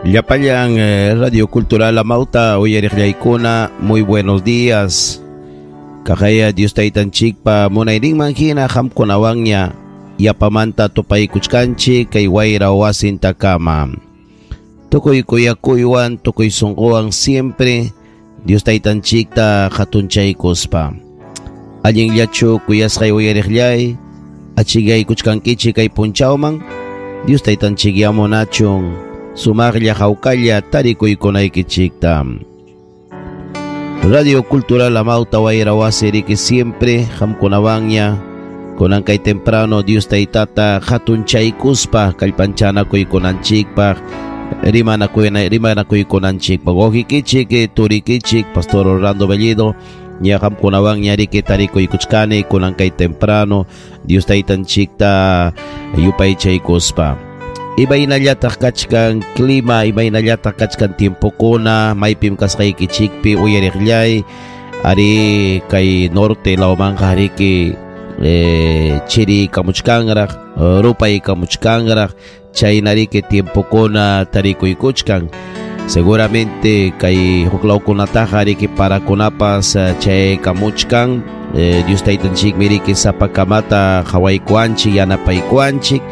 Llapallan Radio Cultural Amauta uyariqllaykuna, muy buenos días. Kaqaya Dios taytanchikpa munayninman hina qamkunawanña yapamanta tupaykuchkanchik kay wayra wasintakama. Tukuy kuyakuywan, tukuy sunquwan siempre Dios taytanchikta hatunchaykuspa. Allinllachu kuyasqay uyariqllay, achikaykuchkankichik kay punchawman, Dios taytanchik yamunachun sumaqlla hawkalla tarikuykunaykichikta. Radio Cultural Amauta wayra wasi riki siempre qamkunawanña kunan kay temprano Dios taytata hatunchaykuspa kallpanchanakuykunanchikpaq rimanakuykunanchikpaq. Wawqikichik, turikichik, Pastor Orlando Bellido, ña qamkunawanña riki tarikuykuchkani kunan kay temprano Dios taytanchikta yupaychaykuspa. Imaynallataq kachkan clima, imaynallataq kachkan tiempokuna, maypim kasqaykichikpi uyariqllay, ari kay norte lawmanqa riki chiri kamuchkanraq, rupay kamuchkanraq, chayna riki tiempokuna tarikuykuchkan. Seguramente kay huklawkunataqa riki parakunapas chay kamuchkan, Dios taytanchikmi riki sapakamata qhawaykuanchik, yanapaykuanchik,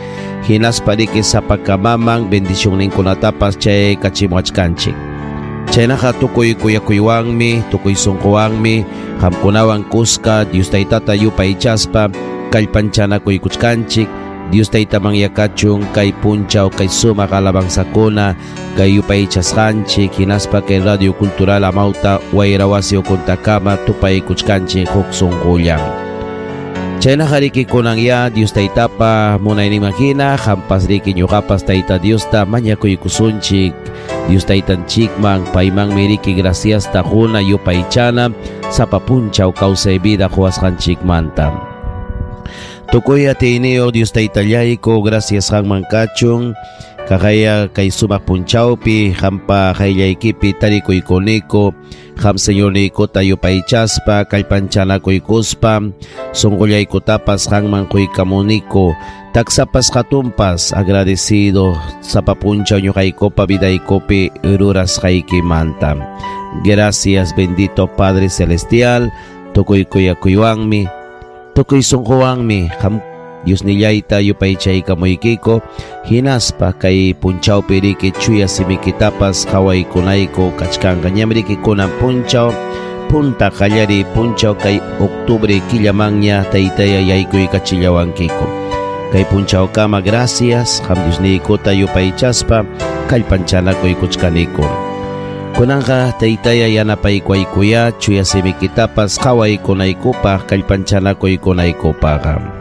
hinaspa riki sapakamaman bendicionninkunatapas chay kachimuachkanchik. Chaynaqa tukuy kuyakuywanmi, tukuy sunquwanmi qamkunawan kuska Dios taytata yupaychaspa kallpanchanakuykuchkanchik. Dios taytaman yakachun kay punchaw kay sumaq alabanzakuna kay yupaychasqanchik, hinaspa kay Radio Cultural Amauta wayra wasi ukuntakama tupaykuchkanchik huk sunqullan. Chaynaqa riki kunan ya Dios taytapa munayninman hina qampas riki ñuqapas tayta Diosta mañakuykusunchik. Dios taytanchikman paymanmi riki graciasta quna yupaychana sapa punchaw kawsay vida quwasqanchikmanta. Tukuy atiyniyuq Dios taytallayku, gracias qanman kachun. Kaqaya kay sumaq punchawpi qampa qayllaykipi tarikuykuniku, qam Señorniykota yupaychaspa kallpanchanakuykuspa sunqullaykutapas qanman quykamuniku. Taksapas hatunpas agradecido sapa punchaw ñuqaykupa vidaykupi rurasqaykimanta. Gracias bendito Padre Celestial, tukuy kuyakuywanmi, tukuy sunquwanmi qam Dios nillayta yupaychaykamuykiko, hinaspa kay punchawpi riki chuya simikitapas qhawaykunayku kachkanqa. Ñam riki kunan punchaw punta qallariy punchaw kay octubre killamanña taytaya yaykuykachillawankiko. Kay punchawkama gracias qam Dios niykuta yupaychaspa kallpanchanakuykuchkaniku. Kunanqa taytaya yanapaykuaykuya chuya simikitapas qhawaykunaykupaq kallpanchanakuykunaykupaq.